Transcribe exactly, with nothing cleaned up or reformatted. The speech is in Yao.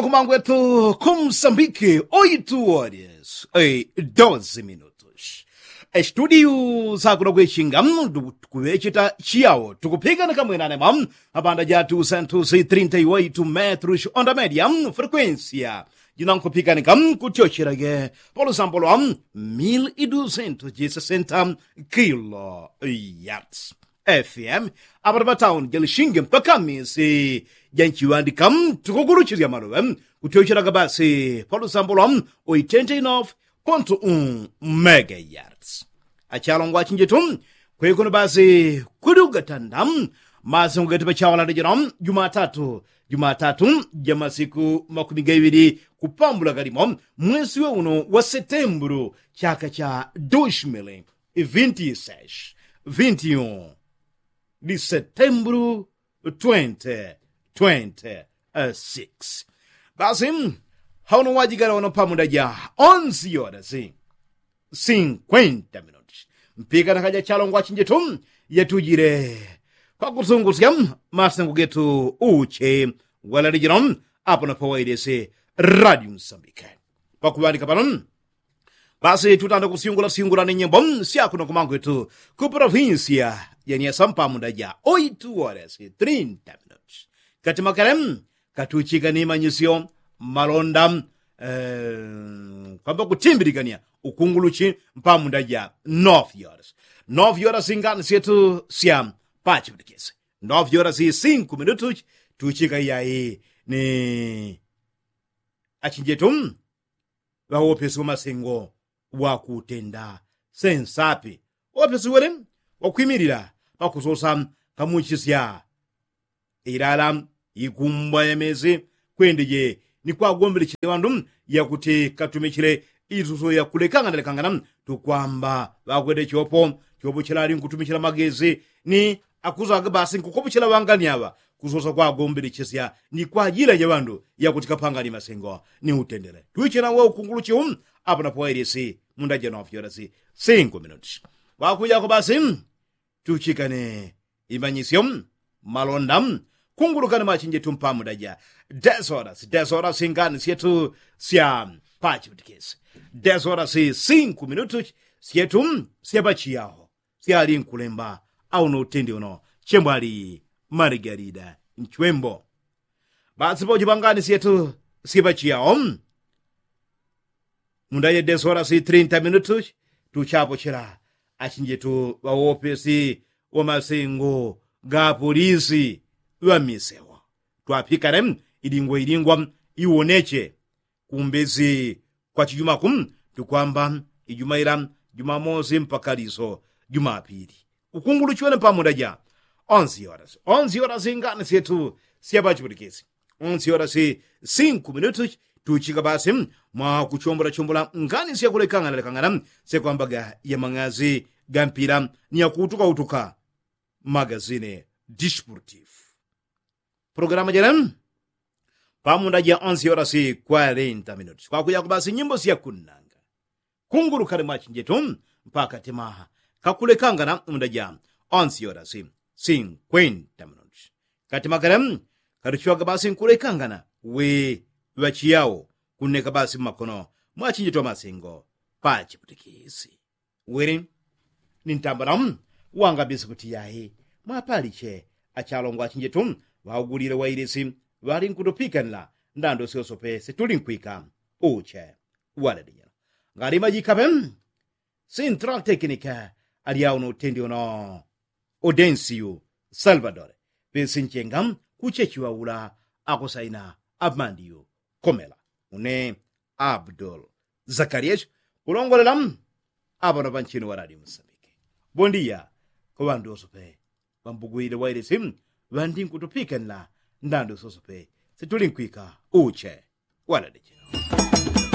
Kumangwetu kumsambiki oitu warias e dozi minutus. Estudiu sakuno kwechinga tukuŵecheta chiyawo tukupikanika mwinanema mapanda ja two cent trinta y oitu metrus onda media, frekuensia jinankupikanika kutyocherage polusambo lwa mil idusentu jisesenta kilo yards. Fm apata patauni jalishingi mpaka misi janchiŵandika tukuguluchisya maluŵe kutyochelaga basi polusambo lwa oitenti inof pontu u mega yards. Achalongwa achinjitu kwekuno basi kuli ugatanda masengo gati pachawalanda jino jumatatu jumatatu jamasiku makumi gaiŵili kupambula galimo mwesi we uno wa setembulu chaka cha dushmili vinti sesh vinti un di setembulu twenty twenty six. Basi hauno wajigala wano pamunda ja onsi yodasi sinkwenta minuti mpika nakaja chalongwa chinjitu yatujile pakusungusya masengo getu uche walalijilo apo napo wailese radio msambike pakuŵandika pano. Basi tutanda kusyungula syungula ni nyimbo syakuno kumangwetu ku provinsia janiasa mpamunda ja oitu wodasi trinta minuti kati makale katuchika ni manyisyo malonda eh, kwamba kutimbilikania ukunguluchi mpamunda ja nof yoras nof yoras ngani syetu sya pachipitikisi nof yoras sinku minutu tuchika iyayi ni achinjetu ŵawopesi wamasengo wakutenda sensapi wopesi wele wakwimilila pakusosa kamuchisya ilala ikumbwa yamezi kwendeje ni kwagombelechele ŵandu yakuti katumichile isuso yakulekangana lekangana tukwamba ŵakwete chopo chopo chilali nkutumichila magezi ni akuzaga basi nkukopochela ŵangani aŵa kusosa kwagombelechesya ni kwajila ja ŵandu yakuti kapangani masengo ni utendele tuichena we ukunguluchi u apo napo wailisi munda ja nof yorasi singu minuti wakujako basi tuchikane imanyisyo malonda kungulukane machinjetu mpamunda ja desoras desoras ngani syetu sya pachipitikisi desoras singu minutu syetu sya pachiyaho syali nkulemba auno utendi uno chembwali margarida nchwembo basi pauchipangani syetu syepachiyawo munda ye desorasi trinta minutu tuchapochela achinjetu ŵawopesi wamasengo ga polisi ŵamisewo twapikane ilingwa ilingwa iwoneche kumbezi kwa chijumaku tukwamba ijumaila jumamosi mpaka liso jumapili ukunguluchiwene pamunda ja onsi yorasi onsi yorasi ngani syetu syapachiputikisi onsi yorasi sinku minutu tuchika basi mwa kuchombola chombola ngani syakulekangana lekangana syakwambaga ya mang'azi ga mpila ni yakuutuka utuka magazine disportifu pulogalamu jele pamunda ja onse yorasi kwarenta minuti kwakuya kubasi nyimbo syakunanga kungulukale mwachinjetu mpaka timaha kakulekangana munda ja onse yorasi sinkwenta minuti katimakale katuchiwaga basi nkulekangana we ŵachiyawo kunneka basi mmakono mwachinjetu amasingo pachiputikisi wili ni ntambala wanga bisikuti yayi mwapaliche achalongwa achinjetu ŵaugulile wailisi ŵali nkutupikanila ndando syosope situli nkwika uche waledinyela ngali majikape sintrala tekinika alyauno utendi uno odensiyu salvadore pesinchenga kuchechiŵaula akusaina amandiyu komela une abdul zakarias kulongolela apano panchino ŵa radio musambiki bondiya kwa ŵandu wosope ŵambugwile wailisi ŵandi nkutupikanila ndando sosope situli nkwika uche waladichino